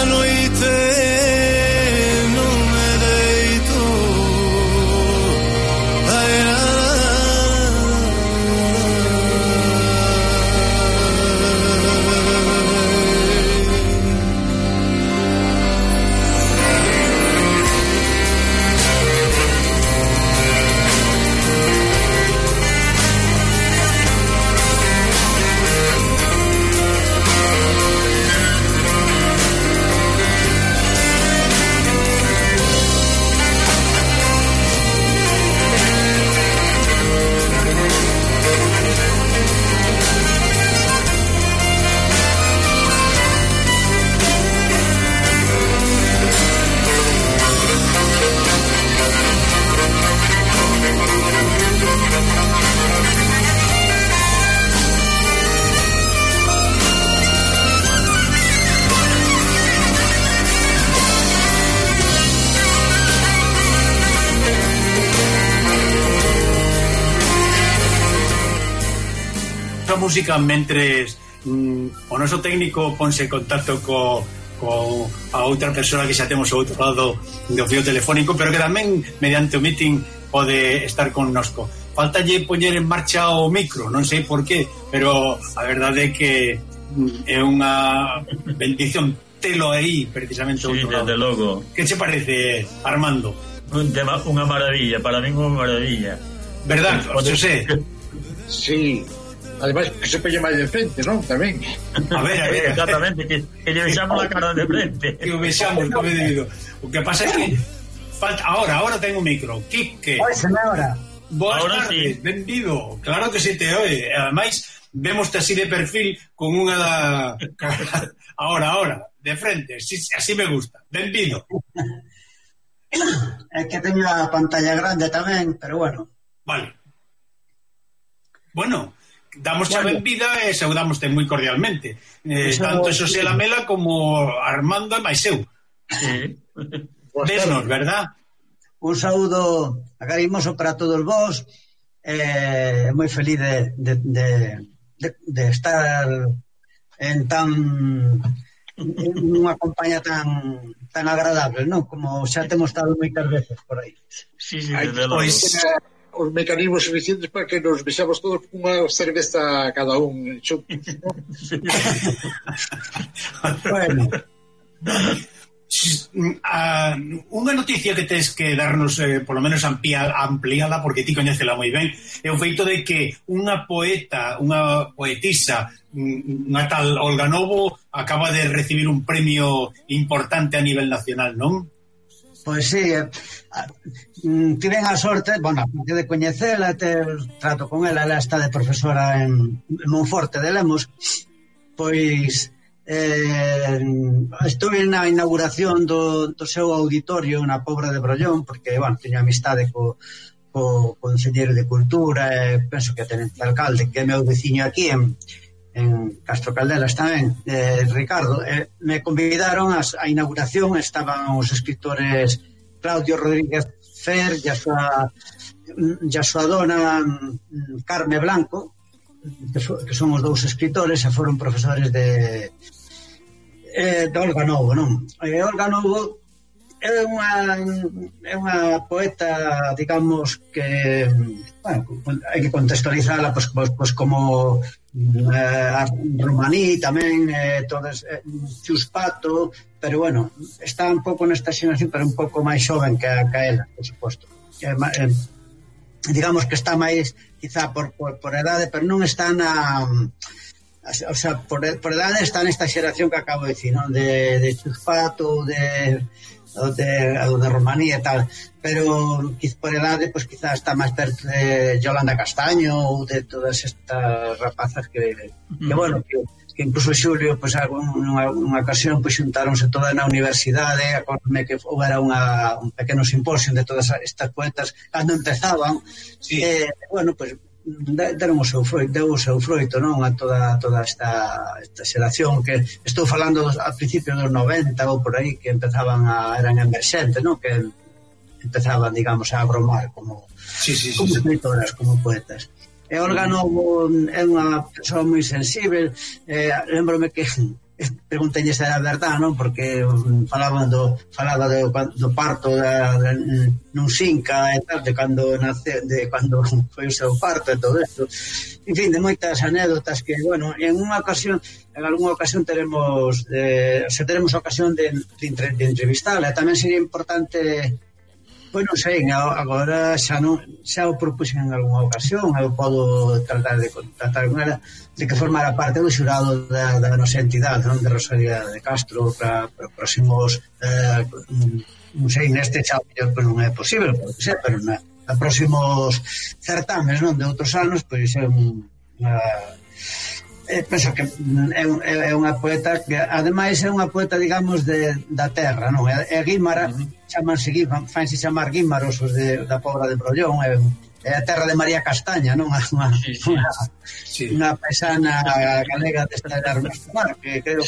noite non me deito música mentres o noso técnico ponse en contacto co a outra persoa que xa temos ao outro lado do fío telefónico, pero que tamén mediante o meeting pode estar connosco. Faltalle poñer en marcha o micro, non sei por qué, pero a verdade é que é unha bendición telo aí precisamente ao outro lado. Desde logo. Que che parece, Armando? Unha maravilla, para min unha maravilla. Verdad, José? Sí. Además que se pelle máis de frente, non? Tamén. A ver. Exactamente, que lle vexamos a cara de frente. Que o vexamos, como debido. O que pasa é que falta ahora ten o micro. Quique. Oi, señora. Boas tardes, sí. Benvido. Claro que se te oe. Ademais, vémoste así de perfil con unha ahora, de frente. Así me gusta. Benvido. É que teño a pantalla grande tamén, pero bueno. Vale. Bueno, damos a benvida e saudámoste moi cordialmente. Tanto Xosé Lamela como Armando e máis eu. Sí. Vesnos, verdad? Un saúdo agarimoso para todos vós. Moi feliz de estar en unha compañía tan agradable, non? Como xa temos estado moitas veces por aí. Sí, desde logo. Os mecanismos suficientes para que nos vexamos todos con unha cerveza cada un xuntos, non? Bueno, unha noticia que tens que darnos polo menos ampliada, porque ti coñécela moi ben, é o feito de que unha poetisa, unha tal Olga Novo, acaba de recibir un premio importante a nivel nacional, non? pois sí, tiven a sorte, bueno, aparte de coñecela, trato con ela está de profesora en Monforte de Lemos, pois estuve na inauguración do seu auditorio na Pobra de Brollón, porque, bueno, teño amistade co Conselleiro de Cultura, penso que a Tenente Alcalde, que é meu veciño aquí en Castro Caldelas tamén, Ricardo, me convidaron a inauguración. Estaban os escritores Claudio Rodríguez Fer e a súa dona Carme Blanco, que son os dous escritores e foron profesores de Olga Novo, non? Olga Novo é unha poeta, digamos, que hai que contextualizala pois como Romaní tamén, todas Chuspato, pero bueno, está un pouco nesta xeración, pero un pouco máis xoven que ela, por suposto. Digamos que está máis quizá por edade, pero non está o sea, por edade está nesta xeración que acabo de dicir, non? De Chuspato, de Romaní e tal, pero por edade pues quizá está máis perto de Yolanda Castaño ou de todas estas rapazas que bueno, que incluso Xulio pues nunha ocasión pues xuntáronse todas na universidade. Acordome que houbera un pequeno simposio de todas estas poetas cando empezaban, sí. Bueno, pues deron o seu froito, non? A toda esta xeración que estou falando a principios dos 90 ou por aí, que eran emerxentes, non? Que empezaban, digamos, a bromar como escritoras, como poetas. E Olga Novo é unha persoa moi sensible. Lembrome que preguntei se era verdade, non? Porque falaba do parto nun Xinca e tal, de cando foi o seu parto e todo isto. En fin, de moitas anécdotas que, bueno, en algunha ocasión teremos ocasión de entrevistar, e tamén sería importante. Pois non sei, agora xa o propuxen en algunha ocasión, eu podo tratar de contactar con ela, de que formara parte do xurado da nosa entidade, non, de Rosalía de Castro, para próximos, non sei, neste xa non é posible, pero na próximos certames, non, de outros anos, pois é penso que é unha poeta que ademais é unha poeta, digamos, da terra, non? É Guímara, fanse chamar Guímaros os da Pobra de Brollón, é a terra de María Castaña, non? Unha paisana galega desta de Armestomar, que creo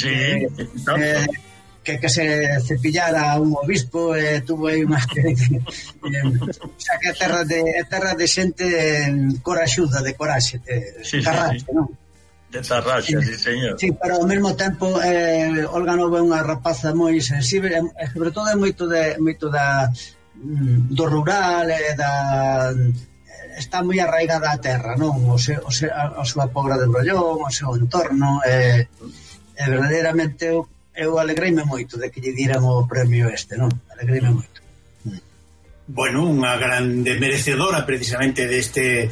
que se cepillara un obispo e tuvo aí unha que é terra de xente coraxuda, de coraxe, carraxe, non? De Tarraxa, sí, señor. Sí, pero ao mesmo tempo Olga Novo é unha rapaza moi sensible, e sobre todo é moito do rural, está moi arraigada a terra, non? A súa Pobra de Brollón, o seu entorno, verdadeiramente eu alegreime moito de que lle diran o premio non? Alegreime moito. Bueno, unha grande merecedora precisamente deste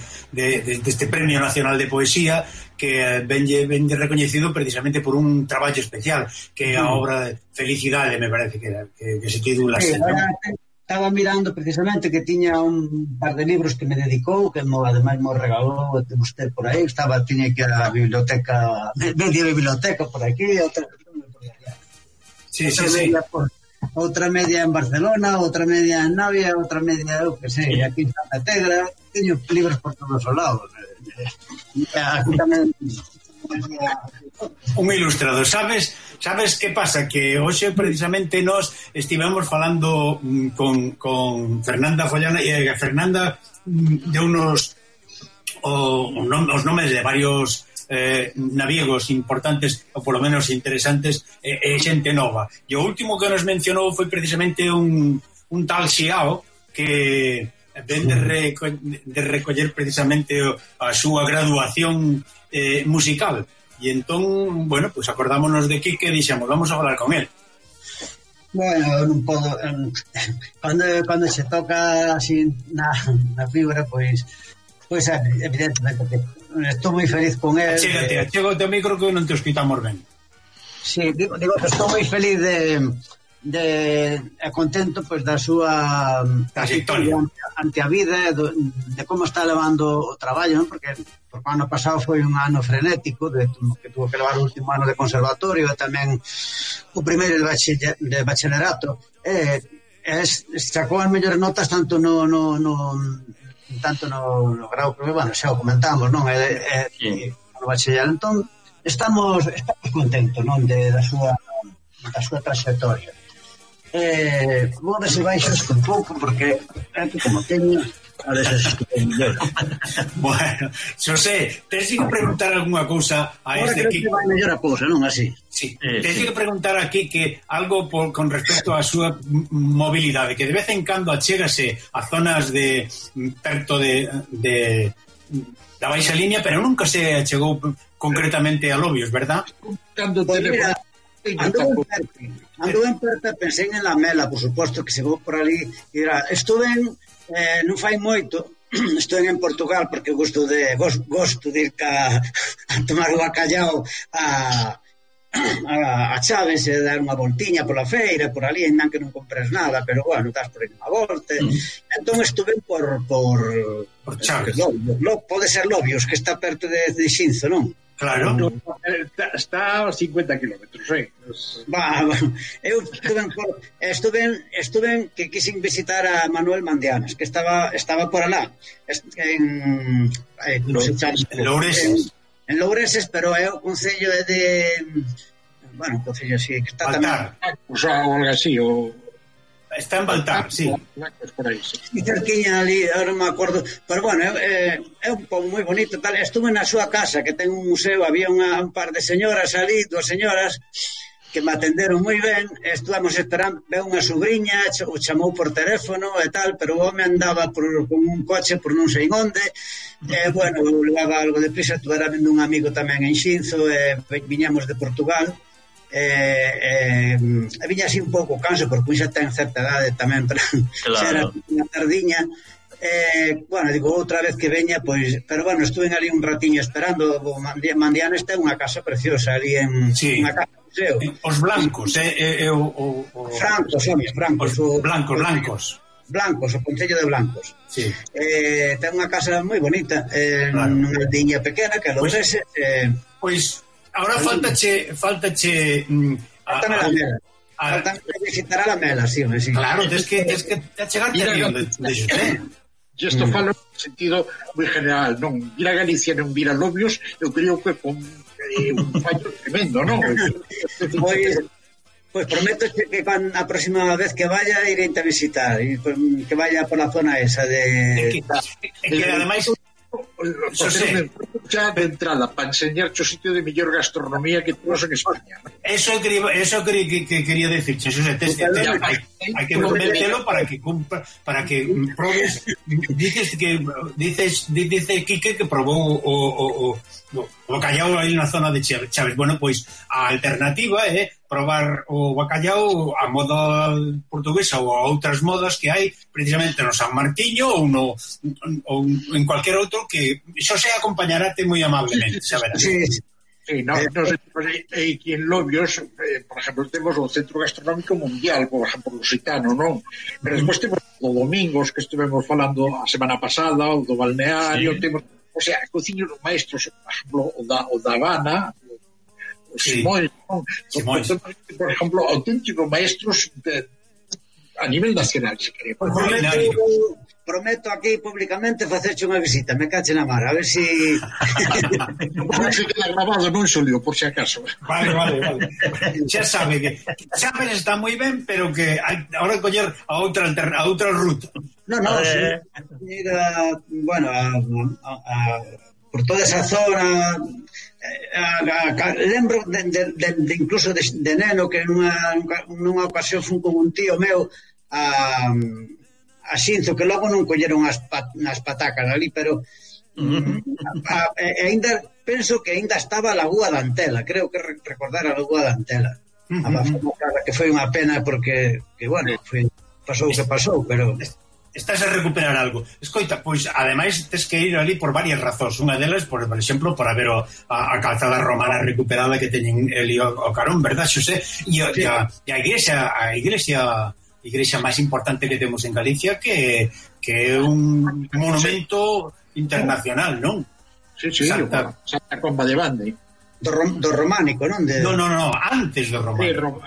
Premio Nacional de Poesía, que vende recoñecido precisamente por un traballo especial, que é a obra Felicidade, me parece que se titula así, ¿no? Estaba mirando precisamente que tiña un par de libros que me dedicou, que ademais me regalou usted por aí, tiña que ir a biblioteca, media biblioteca por aquí, outra por allá. Sí. Outra media en Barcelona, outra media en Navia, outra media, eu que sei, aquí en Santa Tegra, teño libros por todos os lados. Aquí tamén un ilustrador. Sabes que pasa? Que hoxe precisamente nós estivemos falando con Fernanda Follana, e Fernanda deu-nos os nomes de varios naviegos importantes, ou polo menos interesantes, e xente nova. E o último que nos mencionou foi precisamente un tal Xiao, que ven de recoller precisamente a súa graduación musical. E entón, bueno, pues acordámonos de Quique e dixemos, vamos a falar con él. Bueno, non podo, cando se toca así na fibra, pois evidentemente que estou moi feliz con él. Chega o teu micro que non te escoitamos ben. Sí, digo que estou moi feliz de contento pois da súa trayectoria ante a vida, de como está levando o traballo, non? Porque o ano pasado foi un ano frenético, que tuvo que levar o último ano de conservatorio e tamén o primeiro de bacharelato, sacou as mellores notas tanto no grau, porque, bueno, xa o comentamos, non? No bacharelato. Entón, estamos contentos, non? Da súa trayectoria. Vou ver se baixo un pouco, porque como teño a veces bueno, Xosé, tens que preguntar algunha cousa a este Quique. Vai mellor a cousa, non así? Sí, tens que preguntar a Quique algo con respecto á súa mobilidade, que de vez en cando achégase a zonas de perto de da baixa línea, pero nunca se achegou concretamente a Lobios, verdad? Cando Anduve en Perta, pensei en Lamela, por suposto, que chegou por ali. Estuve non fai moito, estuve en Portugal, porque gosto de ir a tomar o bacallao a Chaves e dar unha voltiña pola feira, por ali, ainda que non compres nada, pero bueno, estás por aí unha volta. Entón estuve por Chaves. Pode ser Lobios, que está perto de Xinzo, non? Claro. Está a 50 kilómetros, eu estuve que quixen visitar a Manuel Mandianas, que estaba por alá en Loureses. En Loureses, pero é o concello de bueno, o concello así que está tamén, o algo así, Está en Baltar, sí. Por aí, sí. E cerquiña ali, ahora non me acordo, pero bueno, é un pobo moi bonito, tal. Estuve na súa casa, que ten un museo, había un par de señoras ali, 2 señoras, que me atenderon moi ben, estuvamos esperando, veo unha sobrinha, o chamou por teléfono e tal, pero o home andaba con un coche por non sei onde, bueno, levaba algo de prisa, estuvera vendo un amigo tamén en Xinzo, viñamos de Portugal, viña así un pouco canso, porque xa ten certa idade tamén, pero xa era unha tardiña, bueno, digo, outra vez que veña, pois, pero bueno, estuve ali un ratiño esperando. O Mandianes ten unha casa preciosa ali en unha casa museo. Os blancos, Blancos, o Concello de Blancos. Sí. Ten unha casa moi bonita, nunha aldiña pequena que Lourese. Pois ahora faltache Faltame la mela. Faltame visitar a la mela, sí. Claro, tens que achegarte a onde Xosé. E isto falo no sentido moi general, non? Ir a Galicia non vir a Lobios, eu creo que con un fallo tremendo, non? Pois prometo que a próxima vez que vaya iré a visitar, e que vaya por la zona esa de... que ademais... xa de entrada para enseñarte o sitio de mellor gastronomía que temos en España. Eso quería decirche, Xosé, hai que convencelo para que probes. Dice Quique que probou o bacallao aí na zona de Chaves. Bueno, pois a alternativa é probar o bacallao a moda portuguesa ou a outras modas que hai precisamente no San Martiño ou en cualquier outro, que Xosé acompañarate moi amablemente, saberás. Sí, aquí en Lobios, por exemplo, temos o Centro Gastronómico Mundial, por exemplo, Lusitano, non? Pero despois temos o Domingos, que estivemos falando a semana pasada, o do Balneario, temos, o sea, cociños maestros, por exemplo, o da Habana, o Simón, por exemplo, auténticos maestros a nivel nacional, se queremos. Prometo aquí públicamente facerche unha visita, me cache na mar, a ver si... Non se queda grabado, non xolio, por si acaso. Vale. Xa sabe que Chaves está moi ben, pero que ahora coller a outra ruta. No, bueno, por toda esa zona, lembro de incluso de neno que nunha ocasión fun con un tío meu a Xinzo, que logo non colleron nas patacas ali, pero ainda penso que ainda estaba a Lagoa da Antela, creo que recordar a Lagoa da Antela. Que foi unha pena porque, que bueno, pasou o que pasou, pero... Estás a recuperar algo. Escoita, pois, ademais, tes que ir ali por varias razóns. Unha delas, por exemplo, por haber a calzada romana recuperada que teñen ali o carón, verdad, Xosé? E a igrexa máis importante que temos en Galicia, que é un monumento internacional, non? Sí, Santa Comba de Bande. Do románico, non? No, antes do románico.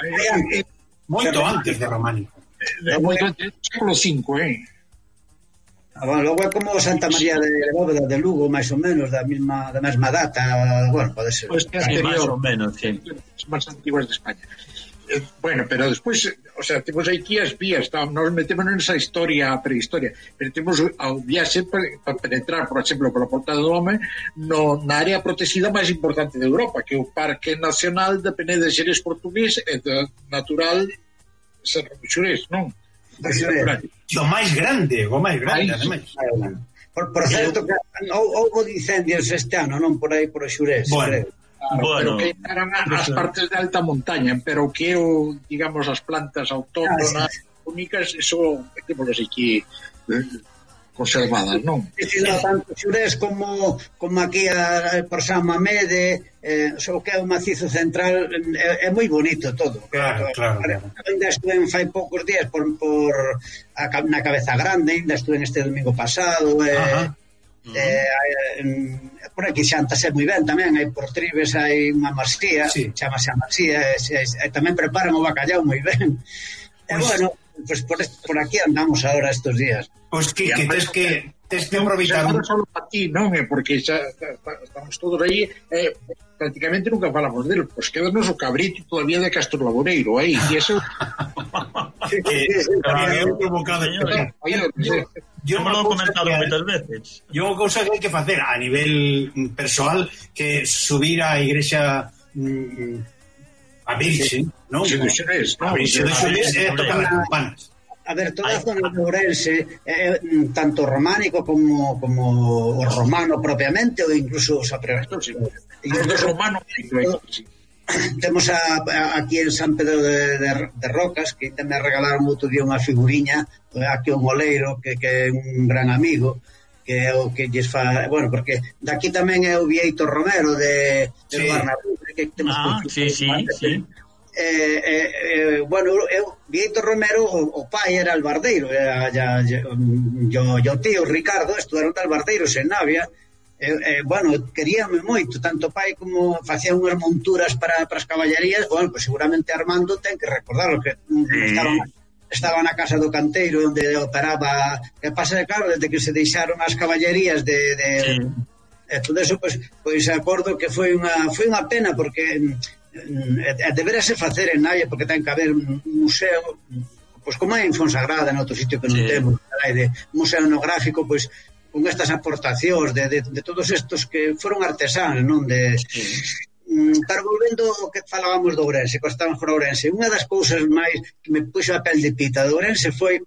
Moito antes do románico. Moito antes, século V, Bueno, logo é como Santa María de Bóveda de Lugo, máis ou menos, da mesma data, bueno, pode ser. Pois máis ou menos, sí. Máis antiguas de España. Bueno, pero despois, o sea, temos aquí as vías, nos metemos nesa prehistoria, pero temos ao viaxe para penetrar, por exemplo, pola Porta do Home na área protegida máis importante de Europa, que é o Parque Nacional de Pené de Xerés portugués e do natural Serra do Xurés, non? O máis grande, ademais. Por certo, houve incendios este ano, non? Por aí, por o Xurés. Bueno, pero que eran as partes de alta montaña, pero que o, digamos, as plantas autóctonas únicas, eso temos aquí conservadas, non? Tanto Xurés como aquí por San Mamede, o que é o macizo central, é moi bonito todo. Claro. Ainda estuve fai poucos días na Cabeza Grande, ainda estuve este domingo pasado, por aquí xantase moi ben tamén, hai por Tribes hai unha marsía, chamase a marsía, e tamén preparan o bacallao moi ben. E bueno, pues por aquí andamos ahora estos días. Pois que tes que aproveitar. Non só para ti, non é porque xa estamos todos aí, prácticamente nunca falamos del, pois quedanos o cabrito todavía de Castro Laboreiro aí, e eso que é provocado. Yo me lo he comentado moitas veces. Yo unha cousa que hai que facer a nivel persoal que subir á igrexa a Virgen, non? Sí, a Virgen de Xurés é tocar as campanas. A ver, toda a zona de Ourense tanto románico como o romano propiamente ou incluso os apregastos. E os romanos temos aquí en San Pedro de Rocas, que tamén regalaron outro día unha figuriña aquí un oleiro que é un gran amigo, que é o que lles fa, bueno, porque daqui tamén é o Vieito Romero de Barnabé, que temos sí. Bueno, Vieito Romero o pai era albardeiro, o tío Ricardo estudaron de albardeiros en Navia. Bueno, queríame moito, tanto pai como facían unhas monturas para as caballerías. Bueno, pues seguramente Armando ten que recordarlo, que estaba na casa do canteiro onde operaba. Que pasa, claro, desde que se deixaron as caballerías todo eso, pois acordo que foi unha pena, porque deberase facer en Navia, porque ten que haber un museo, pois como é en Fonsagrada, en outro sitio que non temos, de museo etnográfico, pois con estas aportacións de todos estos que foron artesáns, non? Pero volvendo ao que falábamos do Ourense, que estamos por Ourense, unha das cousas máis que me puxo a pel de pita do Ourense foi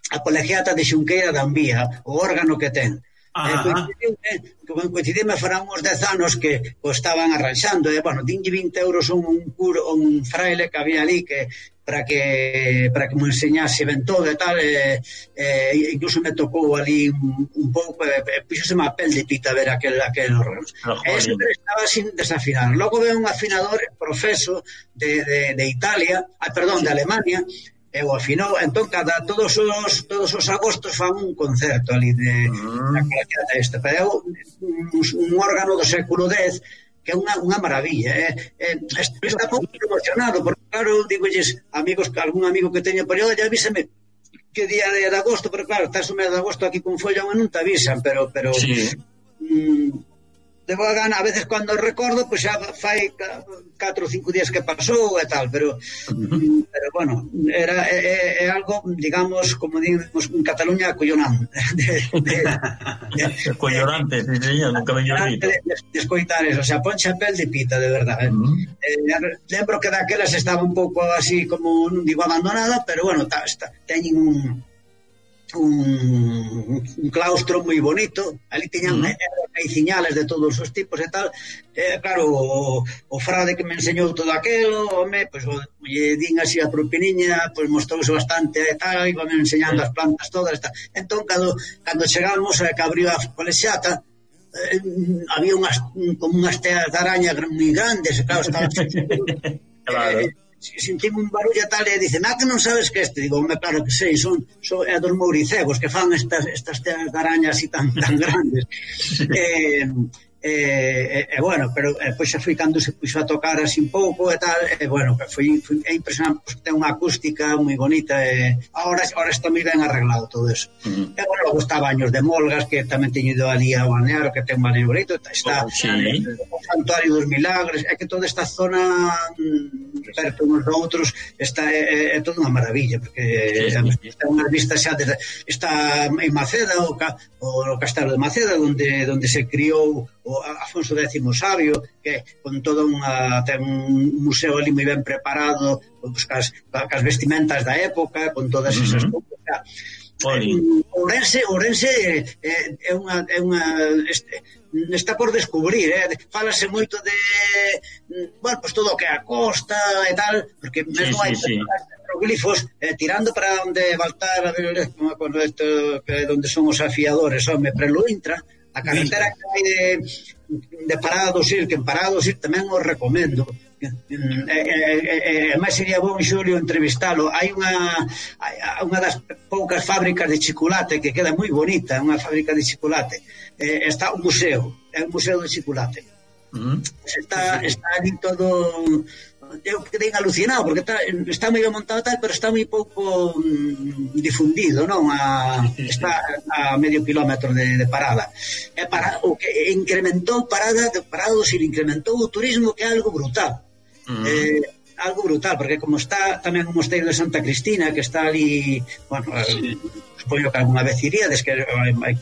a colegiata de Xunqueira da Ambía, o órgano que ten. Coincidime foran uns 10 anos que o estaban arranxando, bueno, dinlle 20 euros un fraile que había ali que para que me enseñase ben todo e tal, incluso me tocou ali un pouco, puxoseme a pel de pita ver aquel órgano. Ese estaba sin desafinar. Logo veo un afinador profeso de Italia, de Alemania, e o afinou. Entón, todos os agostos fan un concerto ali da colegiata esta, pero é un órgano do século X que é unha maravilla. Está pouco emocionado, porque claro, digolles algún amigo que teña por aí, ya avísame que día de agosto, pero claro, estás o mes de agosto aquí con follón e non te avisan, pero de boa gana, a veces cando recordo, pois xa fai 4 ou 5 días que pasou e tal, pero bueno, é algo, digamos, como digamos en Cataluña, acollonante. Acollonante, sí, señor, nunca me llorito. De escoitar eso, o sea, ponche a pel de pita, de verdade. Lembro que daquelas estaba un pouco así, como, non digo abandonada, pero bueno, teñen un claustro moi bonito, ali tiñan mediciñales de todos os tipos e tal, claro, o frade que me enseñou todo aquelo, home, pois lle din así a propiniña, pois mostrouse bastante e tal, iba me enseñando as plantas todas, tal. Entón, cando chegamos que abriu a colexiata, había como unhas teas de araña moi grandes, claro, estaba claro. Sentime un barullo e tal, e dicen, que non sabes que este? Digo, claro que sei, son dos mouricegos que fan estas teas de araña así tan grandes. Bueno, pero pois xa foi cando se puxo a tocar así un pouco e tal, bueno, foi impresionante, porque ten unha acústica moi bonita, ahora está moi ben arreglado todo eso. E bueno, logo está Baños de Molgas, que tamén teño ido ali a Balneario, que ten un balneario bonito, está o Santuario dos Milagres, é que toda esta zona perto uns outros é toda unha maravilla, porque ten unhas vistas xa está en Maceda, o Castelo de Maceda, onde se criou o Afonso X Sabio, que con todo ten un museo ali moi ben preparado, cas vestimentas da época, con todas esas cousas. Ourense é unha está por descubrir, fálase moito de bueno, pues todo o que é a costa e tal, porque mesmo hai petroglifos tirando para onde Baltar, a ver, onde son os afiadores, Prelo Intra, a carretera que hai de Parada do Sil, que en Parada do Sil tamén os recomendo. Máis sería bon, Xulio, entrevistalo. Hai unha das poucas fábricas de chocolate que queda moi bonita, unha fábrica de chocolate. Está un museo, é un museo de chocolate. Está ali todo... Eu quedei alucinado, porque está moi montado tal, pero está moi pouco difundido, non? Está a medio kilómetro de Parada. O que incrementou Parada do Sil, incrementou o turismo, que é algo brutal. algo brutal, porque como está tamén o mosteiro de Santa Cristina, que está ali, bueno, supoño que alguna vez iríades, que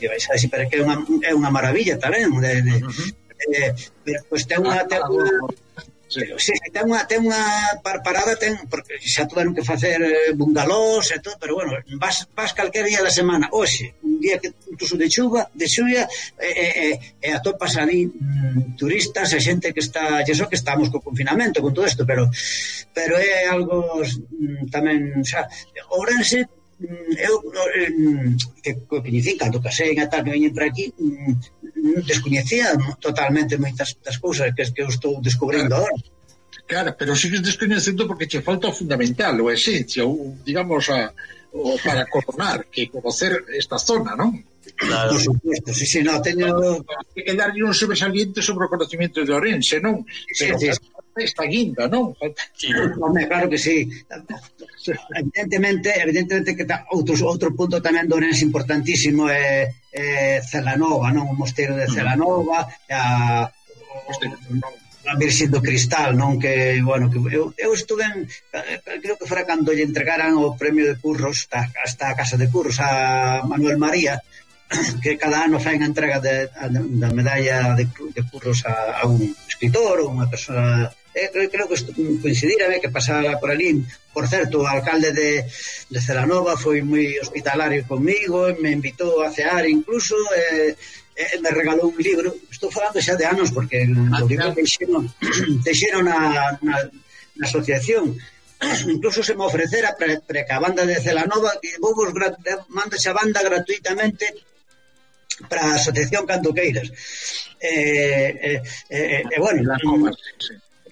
vais a decir, pero que é unha maravilla tamén, pero pois ten unha sí, ten unha parada, porque xa tuveron que facer bungalós e todo, pero bueno, vas calquer día da semana, hoxe, un día que incluso de xuva, e atopas ali turistas e xente que está, e eso que estamos co confinamento, con todo isto, pero é algo tamén, xa, Ourense, eu que coñecín cando casei e tal, que veñen por aquí, descoñecía totalmente moitas das cousas que eu estou descubrindo agora. Claro, pero sigues descoñecendo porque che falta o fundamental, o esencia, digamos, para coronar, que conocer esta zona, non? Claro. Por supuesto, sí, no, teño... Hay que darlle un sobresaliente sobre o conocimiento de Ourense, non? Pero sí. Esta guinda, non? Sí. Claro que sí. Evidentemente que outro punto tamén de Ourense importantísimo é Celanova, non? O mosteiro de Celanova, a Virxen do Cristal, non? Que, bueno, que eu estuve creo que fora cando lle entregaran o premio de Curros, hasta a Casa de Curros a Manuel María, que cada ano fai a entrega da medalla de Curros a un escritor ou unha persona. Creo que coincidira que pasara por ali. Por certo, o alcalde de Celanova foi moi hospitalario comigo, me invitou a cear incluso, me regalou un libro. Estou falando xa de anos porque o libro deixeron na asociación. Incluso se me ofrecera para que a banda de Celanova, que vou mando xa banda gratuitamente para a asociación cando queiras. Bueno,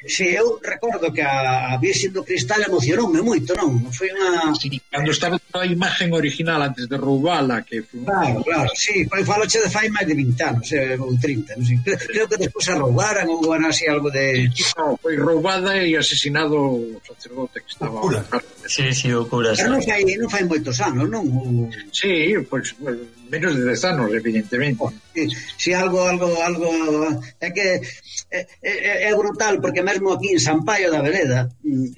si eu recordo que a Virxen do Cristal emocionoume moito, non? Foi unha... Sí, cando estaba a imagen original antes de roubala, que foi... Claro, sí, faloche de fai máis de 20 anos, ou 30, non sei. Creo que despois a roubaran ou era así algo de... No, foi roubada e asesinado o sacerdote que estaba... Sí, o cura. Pero non fai moitos anos, non? Sí, pois menos de 10 anos, evidentemente. Si algo é que é brutal, porque mesmo aquí en San Paio da Vereda,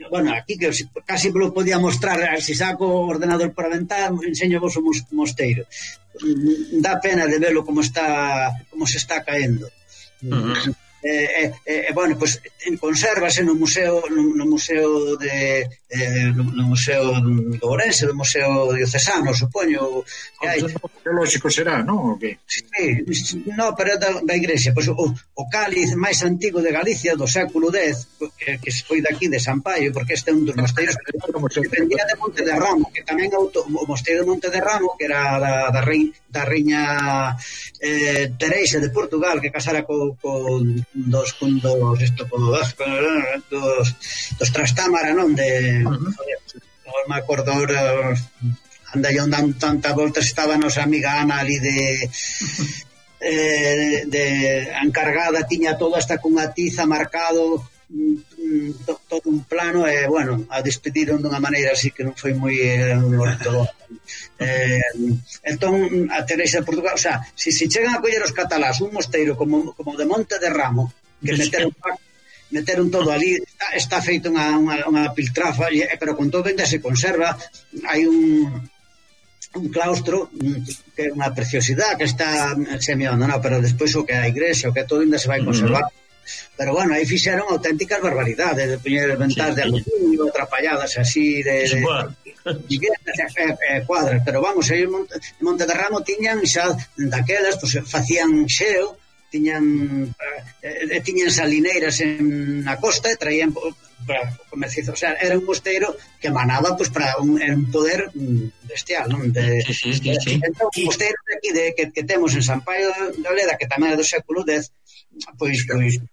bueno, aquí que casi lo podía mostrar, se saco o ordenador para aventar, enseño vos o mosteiro. Dá pena de verlo como se está caendo. Bueno, pues consérvase no museo de Ourense, do museo diocesano, supoño que hai. Lógico será, non? Sí, no, pero da igrexa, pues, o cáliz máis antigo de Galicia do século X, que foi daqui de San Paio, porque este é un dos mosteiros que dependía de Monte de Ramo, que tamén o mosteiro de Monte de Ramo, que era da reina Teresa de Portugal, que casara dos Trastámara, non? Non me acordo ahora, anda yo dando tantas voltas, estaba nosa amiga Ana ali de encargada, tiña todo hasta cunha tiza marcado todo un plano, e bueno, a despediron dunha maneira así que non foi moi entón a Teresa de Portugal, o sea, se chegan a coller os catalás un mosteiro como de Monte de Ramo, que meteron todo ali, está feito unha piltrafa, pero con todo ainda se conserva. Hai un claustro que é unha preciosidade, que está semi-abandonado, pero despois o que é a igrexa, o que é todo ainda se vai conservar. Pero bueno, aí fixeron auténticas barbaridades, de poñer ventas de aluminio, atrapalladas así de cuadras, pero vamos, aí en Monte de Ramo tiñan xa daquelas, pues facían xeo, tiñan salineiras na costa e traían para comerciar, o sea, era un mosteiro que emanaba pues para un poder bestial, non? Sí. Entón, o mosteiro de aquí que temos en San Paio de Leda, que tamén é do século X, pois 9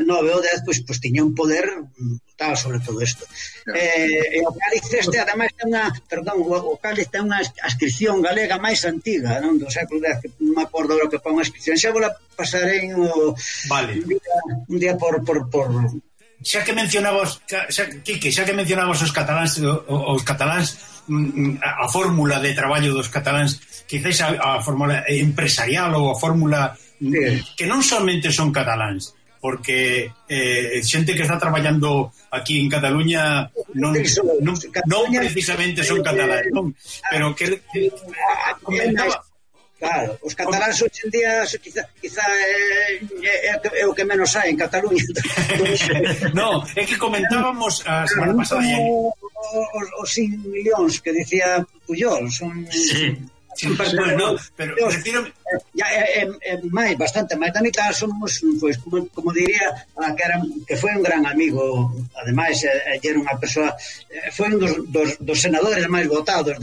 ou 10, pois tiña un poder brutal sobre todo isto. E o cáliz este, ademais, o cáliz ten unha ascripción galega máis antiga, non? Do século X, que non me acordo do que pon a ascripción, xa vou la pasarei un día por xa que mencionabas, Quique, xa que mencionabas os cataláns, a fórmula de traballo dos cataláns, quizás a fórmula empresarial ou a fórmula que non somente son cataláns, porque xente que está traballando aquí en Cataluña non precisamente son catalán, non? Pero que comentaba. Claro, os cataláns hoxe en día quizá é o que menos hai en Cataluña. No, é que comentábamos a semana pasada os 5 millións que dicía Pujol son... Sí, no, pero refiro máis, bastante máis da mitad somos, pois, como diría, que foi un gran amigo, ademais era unha persoa, foi un dos senadores máis votados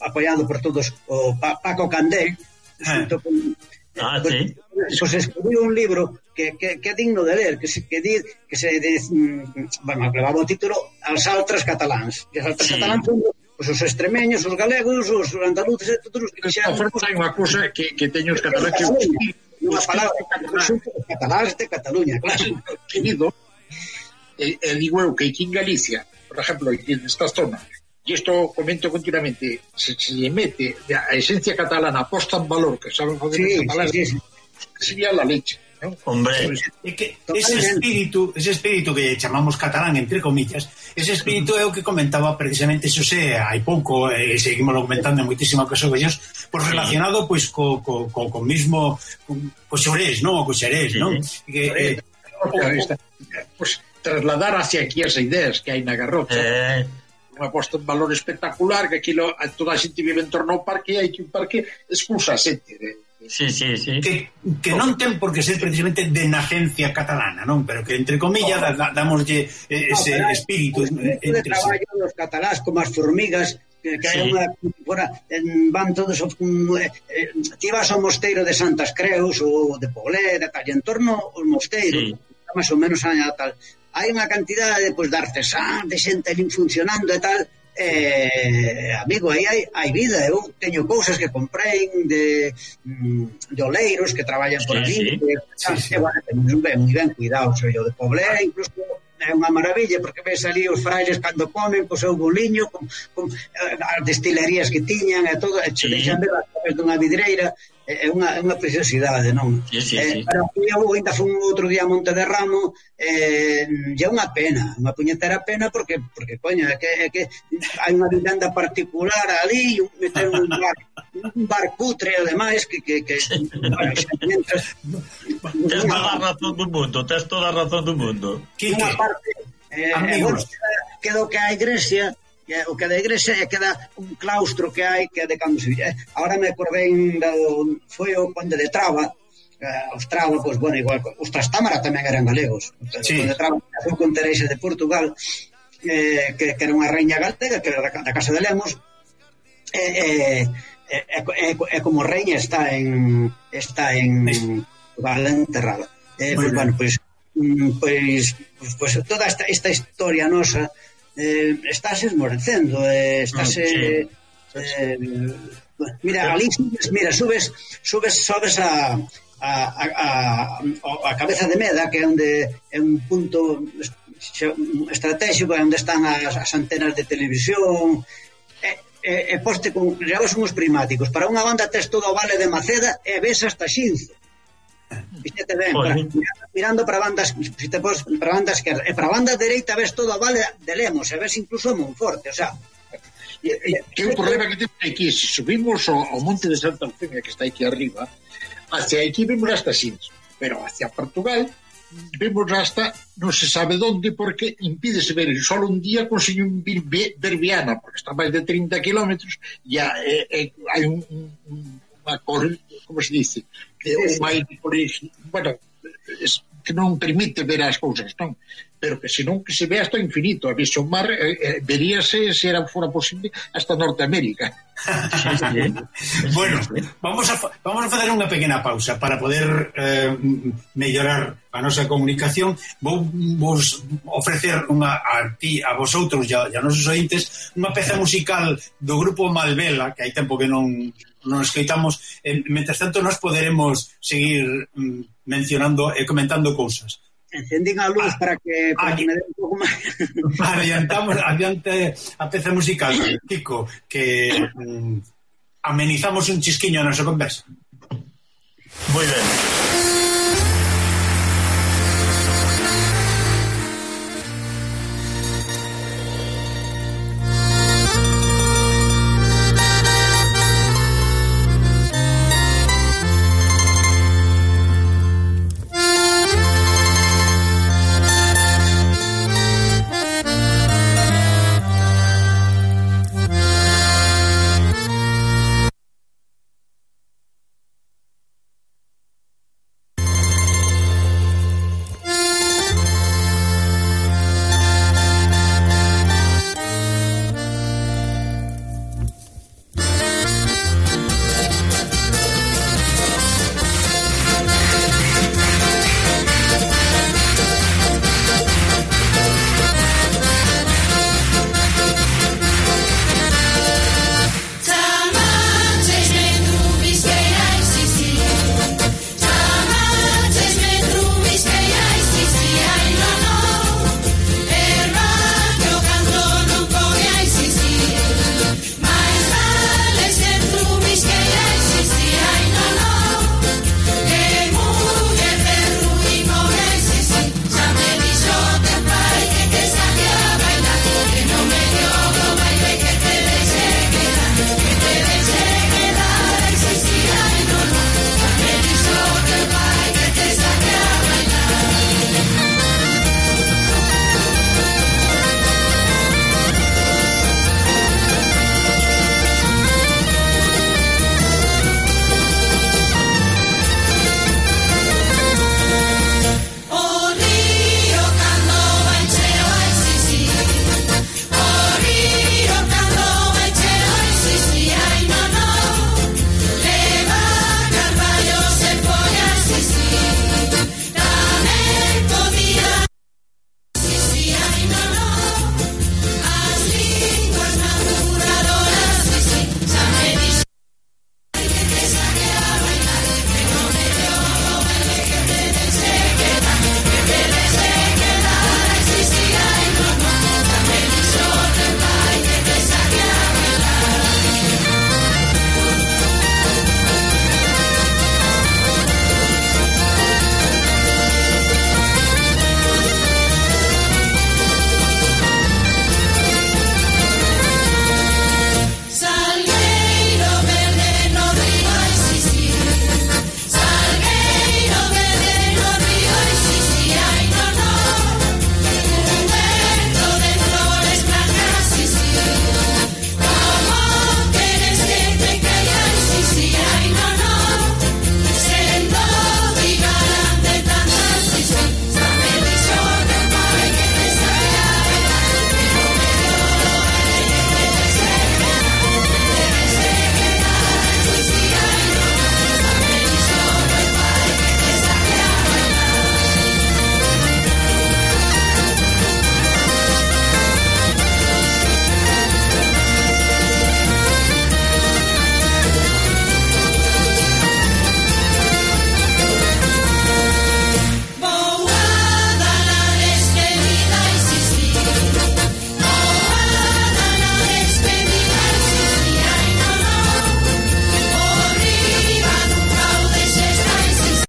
apoiado por todos, o Paco Candel, junto con... Pues escribiu un libro que é digno de ler, que se levaba o título As Altres Cataláns. E as Altres Cataláns son os extremeños, os galegos, os andaluces e todos os que xa... Hai unha cousa que teño os cataláns que... Unha palabra, os cataláns de Cataluña, claro. Querido, digo eu que aquí en Galicia, por exemplo, aquí nesta zona, e isto comento continuamente, se lle mete a esencia catalana posta en valor, que saben fazer en catalán, sería la leche, ¿no? Hombre, é que ese espírito que chamamos catalán, entre comillas, ese espírito é o que comentaba precisamente Xosé hai pouco, e seguimos comentando en moitísimas ocasións, pois relacionado pois co mismo co xorés, non? O co xerés, non? Que pois trasladar hacia aquí as ideas que hai na Garrocha. Unha posta en valor espectacular, que aquilo toda a xente vive en torno ao parque, e hai que un parque expulsa a xente Sí. Que non ten por que ser precisamente de nacencia catalana, non? Pero que, entre comillas, damoslle ese espírito de traballo dos catalás como as formigas, que hai unha van todos ti vas ao mosteiro de Santas Creus ou de Poblé, de tal, en torno ao mosteiro, máis ou menos aña tal, hai unha cantidade de artesán, de xente ali funcionando e tal. Amigo, aí hai vida. Eu teño cousas que comprei de oleiros que traballan por ali, moi ben cuidados. O de Poblé incluso é unha maravilla, porque ves ali os frailes cando comen co seu boliño con as destilerías que tiñan e todo, e deixan ver as copas dunha vidreira. É unha preciosidade, non? Pero eu ainda fui outro día a Monte de Ramo, é unha pena, unha puñetera pena, porque coño, é que hai unha vivenda particular ali, meter un bar cutre, ademais, que tens toda a razón do mundo. Unha parte, quedo que a iglesia, o que da igrexa é que da un claustro que hai, que é de cando se... Ahora me acordei foi o Conde de Traba, os trabacos, bueno, igual os Trastámara tamén eran galegos. O Conde de Traba foi con Teresa de Portugal, que era unha reina galega, que era da Casa de Lemos, é como reina está en Portugal enterrada. Bueno, pois toda esta historia nosa estáse esmorecendo, estáse mira, ali sobes a cabeza de Meda, que é onde é un punto estratégico, onde están as antenas de televisión, e poste con llavas unhos prismáticos. Para unha banda tes todo o Vale de Maceda e ves hasta Xinzo. Fíxate ben, mirando para bandas, se te pos para banda esquerda e para banda dereita ves todo a Vale de Lemos e ves incluso Monforte, o sea, que o problema que temos aquí, se subimos ao monte de Santa Eufemia, que está aquí arriba, hacia aquí vemos hasta Xinzo, pero hacia Portugal vemos hasta non se sabe onde, porque impídese ver só un día conseguir ver Viana, porque está máis de 30 kilómetros e hai unha cor, como se dice, bueno, que non permite ver as cousas, non? Pero que senón que se ve hasta o infinito, a visión mar veríase, se fora posible, hasta Norteamérica. Bueno, vamos a fazer unha pequena pausa para poder mellorar a nosa comunicación. Vos ofrecer a vosotros e a nosos ointes unha peza musical do grupo Malvela, que hai tempo que non escoitamos. Mentres tanto nos poderemos seguir mencionando e comentando cousas. Encendín a luz para que me dé un pouco máis. Adiante a peza musical, Kiko, que amenizamos un chisquiño a nosa conversa. Moi ben.